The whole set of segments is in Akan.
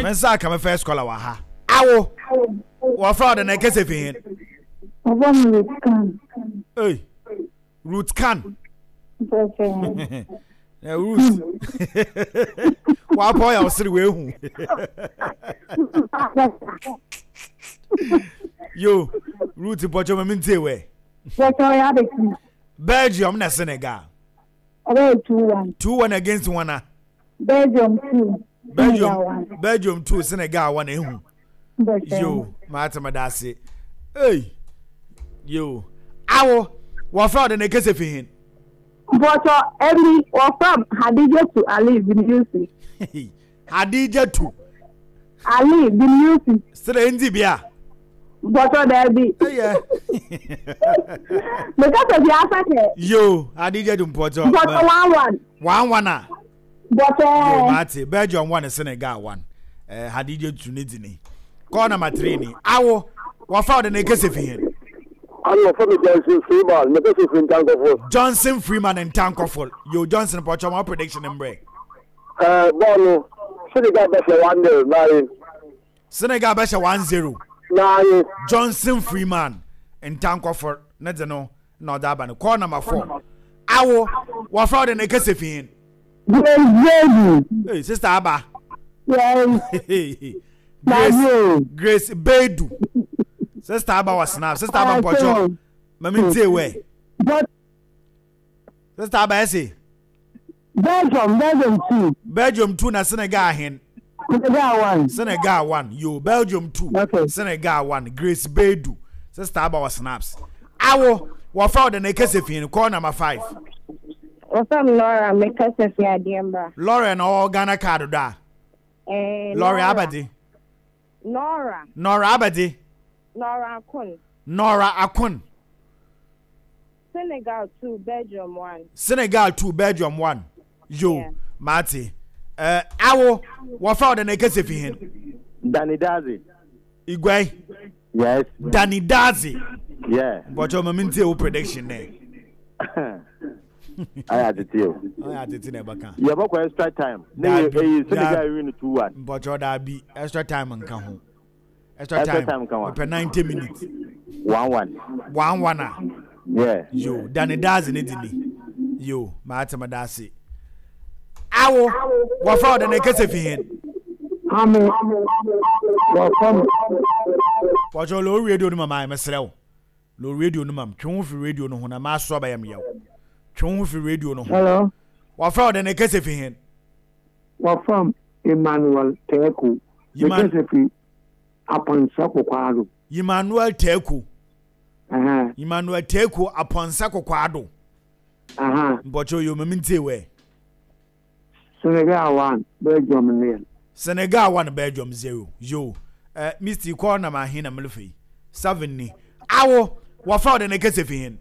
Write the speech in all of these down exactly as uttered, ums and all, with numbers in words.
Me nsa aka me first caller wɔ ha. Awo. Wɔfrɛ wo dɛ na ɛkɛsɛ fi hen? Wɔfrɛ me Ruth Kan. Ei, Ruth Kan. Mpɛsɛ. Na Ruth. Wapɔ yɛ ɔsere wehu. Yo, Ruth mpɔkyɛ ma mentie wɛ. Mpɔkyɛ ɔyɛ abɛti. Belgium na Senegal. Ɔbɛyɛ two one. Two one against one a. Belgium two. Belgium Belgium two Senegal one ehu. Yo, maate ma dase. Hey. Yo. Awo, wɔfrɛ ɔde na ekese fi hin. Mpɔtɔ ɛmi wɔfrɛ Hadija tu Ali bin Yusuf. Hadija tu. Ali bin Yusuf. Sere ndi bia. Mpɔtɔ daabi. Ɛyɛ. Mekasa fi asakɛ. Yo, Hadija tu mpɔtɔ. Mpɔtɔ one one. One one a. Mpɔtɔ. Yo, maate Belgium one Senegal one. Eh, Hadija tu ne dini. Call number three ni. Awo, wɔfrɛ ɔde na ekese fi hin. Ano wɔfrɛ me Johnson Freeman, mekasa fi Ntankɔfo. Johnson Freeman Ntankɔfo. Yo, Johnson pɔtɔ ma prediction mbrɛ. Eh, bɔɔl no, Senegal bɛhyɛ one nil, nine. Senegal bɛhyɛ one zero. Nine. Johnson Freeman Ntankɔfo ne de no na ɔde aba no. Call number four. Awo, wɔfrɛ ɔde na ekese fi hin. Grace Bedu. Hey, sister Aba. Yes. Grace, Grace Bedu. Sister Aba was snap. Sister Aba mpɔtɔ. Mami ntie wɛ. Sister Aba ɛsɛ. Belgium, Belgium two. Belgium two na Senegal hen. Senegal one. Senegal one. Yo, Belgium two. Okay. Senegal one. Grace Bedu. Sister Aba was snaps. Awo, wɔfrɛ ɔde na ekese fi call number five. Wɔfrɛ me Laura, mekasa fi adeɛ mbra. Laura na ɔwɔ Ghana card do a. Eh, Laura Abadi. Nora. Nora Abadi. Nora Akun. Nora Akun. Senegal two, Belgium one. Senegal two, Belgium one. Yo, Yeah. Mate. Eh, awo, wɔfrɛ ɔde na ekese fi hen. Danny Dazi. Igwe. Yes. Danny Dazi. Yeah. Mpɔtɔ ma mintie wo prediction ne. Ayɛ atete o. Ɔyɛ atete na ɛbɛka. Yɛbɛkɔ extra time. Ne yɛ Dabi, eyi Senegal dabi. win two one. Mpɔtɔ daabi extra time nka ho. Extra Extra time. time nka ho. Mepɛ ninety minutes. One one. One one a. Yeah. Yo, Danny Dazi ne di ni. Yo, maate ma daase. Awo, wɔfrɛ ɔde na ekese fi hen. Ame wɔfrɛ me. Pɔtɔ lo radio no ma maa mesrɛ wo. Lo radio no mam twe ho fi radio no ho na ma so abayam yaw. Twe ho fi radio no ho. Hello. Wɔfrɛ ɔde na ekese fi hen. Wɔfrɛ me Emmanuel Teku. Yiman- Mekasa fi Aponsa Kokwado. Emmanuel Teku. Aha, Emmanuel Teku Aponsa Kokwado. aha. Mpɔtɔ yo ma mintie wɛ. Senegal one, Belgium nil. Senegal one Belgium zero. Yo. Eh, Misty call na ma hin na mlefe. Seven ni. Awo, wɔfrɛ ɔde na ekese fi hen.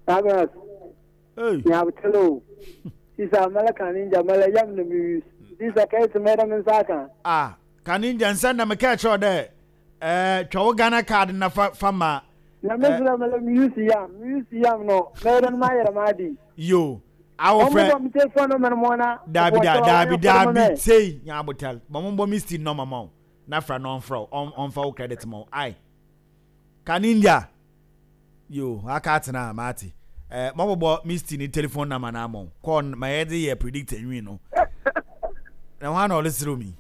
Sabas, Hey. nyabtelo. Sisa mala kaninja mala yam na mi Sisa kai su mai da min saka. Ah, kaninja nsa na meka kyerɛ dɛ eh twa wo Ghana card na fa fa ma Na me sura mala mi yusi yam, mi yusi yam no. Mai da ma yara ma di. yo. Awo Wɔn frɛ bɔ mi te fɔ no mɛn mo na. dabi da dabi dabi sei nya abotal. Bɔ mo bɔ Misty no mama wo. Na fra no ɔmfrɛ wo ɔmfa wo credit ma wo. Ai. Kaninja. Yo, aka atena mate. Eh mo bɔ Misty ni telephone number na mo. Call ma yɛ de yɛ predict nwi no. Na ho ana ɔlesere mi.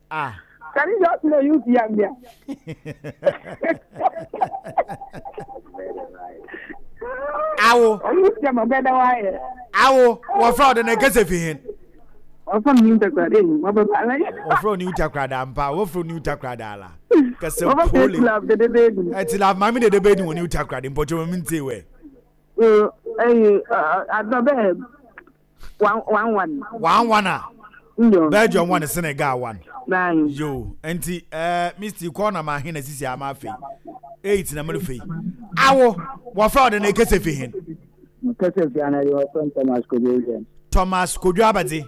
Ah. Kaninja ɔtí na yusi yam bia. Awo. Ɔno yam ɔbɛda wayɛ. Awo, wɔfrɛ ɔde na ekese fi hen. Wɔfrɛ me New Takoradi. Wɔbɛba ala. Wɔfrɛ New Takoradi ampa, wɔfrɛ New Takoradi ala. Kɛsɛ Wɔfrɛ pole. Tilaf dede beedu. Ɛti la maame dede beedu wɔ New Takoradi mpɔtɔ mami ntie wɛ. Ɛyi adɔ bɛɛ one one one. One one a. Nyo. Belgium one Senegal one. Nine. Yo, nti eh Misty call na ma hin na sisi ama afei. Eight na mele fei. Awo, wɔfrɛ ɔde na ekese fi hin. Mekasa fi anadi wɔfrɛ me Thomas Kojo Williams. Thomas Kojo Abadze.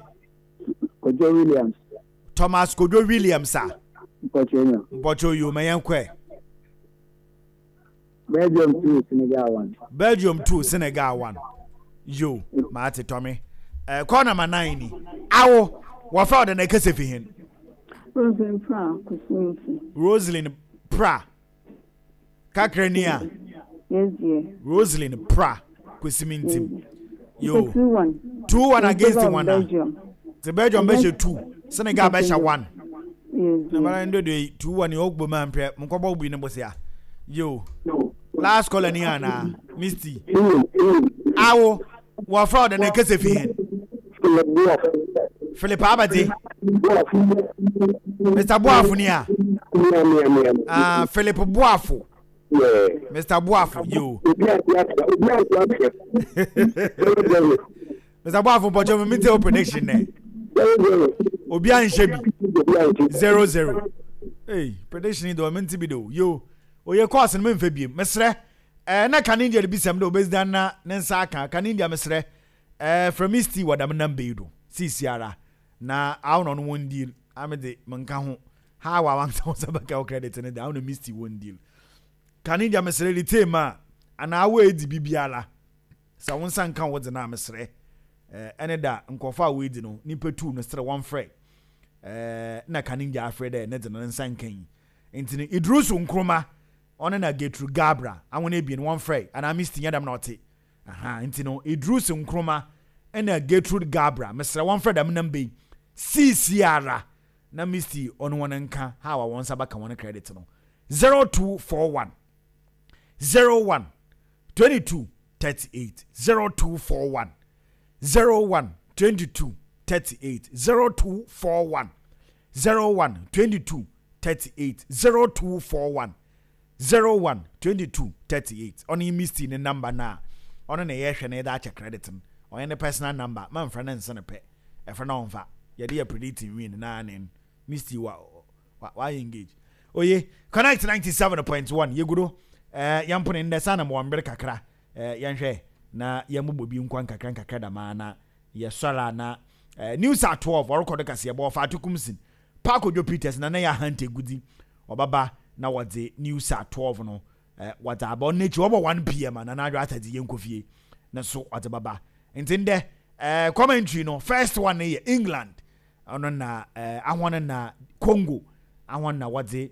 Kojo Williams. Thomas Kojo Williams a. Mpɔtɔ nyo. Mpɔtɔ yo ma yɛn kɔɛ. Belgium two, Senegal one. Belgium two, Senegal one. Yo, maate Tommy. Eh, call number nine ni. Awo, Wɔfrɛ wo dɛn na ɛkasa fi hen? Roslyn Pra Kusuminti. Roslyn Pra. Kakra ni a. Yes, dear. Roslyn Pra Kusuminti. Yo. Two one. Two one against one. Belgium. The Belgium bɛhyɛ two. Senegal bɛhyɛ one. Yes. Na mara ndo de two one yɛ ɔgbɔ mu ampɛ nkɔbɔ bi ne bosia. Yo. Last caller ni ana Misty. Awo wɔfrɛ wo dɛn na ɛkasa fi hen? Philip Abadi. Mr. Boafo ni a. Ah, Philip Boafo. Mr. Boafo, yo. Mr. Boafo, but me tell prediction ne. Obi anhye bi. Zero zero. Hey, prediction do me bi do. Yo. Oye course no me mfa biem. Mesrɛ. Eh na kan India bi sɛm do obezdan na ne nsa aka. Kan India mesrɛ. Eh from Misty wadam number yi do. Sisi ara na awo no one deal. Ame de menka ho. Ha wa wan sa sa baka credit ne da awo no Misty one deal. Kan India mesrɛ retain ma ana awo edi bibiara. Sa won san kan wo de na mesrɛ. Eh ene da nkofo a we di no nipa two no srɛ one frɛ. Eh na kan India afrɛ dɛ ne de no nsan kan yi. Ntini Idrusu Nkrumah ɔne na Gertrude Gabra awon ebien one frɛ ana Misty nyadam na ɔte. Aha ntino Idrus Nkrumah ɛna Gertrude Gabra mesrɛ wɔn frɛ dam number yi sisi ara na Misty ɔno wɔn nka ha wa wɔn nsa baka wɔn credit no zero two four one zero one twenty two thirty eight zero two four one zero one twenty two thirty eight zero two four one zero one twenty two thirty eight zero two four one zero one twenty two thirty eight ɔno yi Misty ne number na ɔno na yɛhwɛ na yɛde akyɛ credit no ɔyɛ ne personal number ma mfrɛ ne nsa ne pɛ ɛfrɛ na ɔmfa yɛde yɛ predicting win na ne Misty wa wa wa engage oye Connect ninety seven point one yɛgudo ɛɛ yɛn mpono ndɛ sanni mo wɔn mbere kakra ɛɛ yɛnhwɛ na yɛn mo bɔ bi nkwa nkakra nkakra dama na yɛsɔre a na ɛɛ news at twelve ɔrekɔ do kaseɛ bɔ ɔfa atokum Paako Joe Peters na ne yɛ ahante gudi ɔbaba na wɔdze news at twelve no ɛɛ wɔdze aba ɔno n'akyi wɔbɔ one pm a na n'adwa atadze yɛn nkɔ fie ne so ɔdze baba nti ndɛ ɛɛ commentary no first one no yɛ England ɔno na ɛɛ ahɔn na Congo ahɔn na wɔdze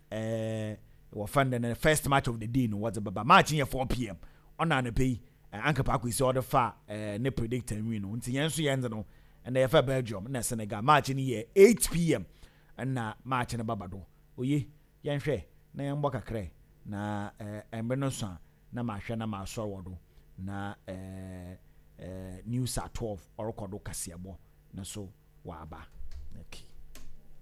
ɛɛ wɔfɛn dɛ no first match of the day no wɔdze baba match yɛ four pm ɔna anɔpɛ yi ɛɛ anka paako yi sɛ ɔde fa ɛɛ ne predictor nwi no nti yɛn nso yɛn dze no ɛna yɛfɛ Belgium na Senegal match no yɛ eight pm ɛna match no baba do oye yɛnhwɛ na yɛn bɔ kakra na ɛɛ mmerɛ no so a na mahwɛ na masɔre wɔ do na ɛɛ ɛɛ news at twelve ɔrekɔ do kaseɛbɔ na so waba.